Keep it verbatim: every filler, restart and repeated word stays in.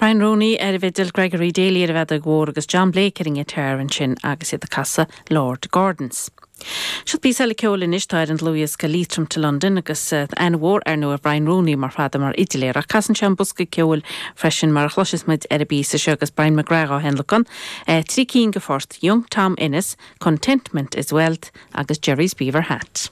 Brian Rooney ar an bhfidil Gregory Daly ar an bhfeadóg mhór agus John Blake ar an ngiotár ansin agus iad ag casadh Lord Gordon's. Seo píosa eile ceoil anois tá ar an dlúthdhiosca Leitrim to London agus uh, aithne mhór ar nó ar Brian Rooney mar fada mar fhidléir ach casann sé an bosca ceoil freisin mar a chloisfimid ar an bpíosa seo agus Brian McGrath á thionlacan, uh, trí cinn de phoirt Young Tom Ennis, Contentment is Wealth agus Jerry's Beaver Hat.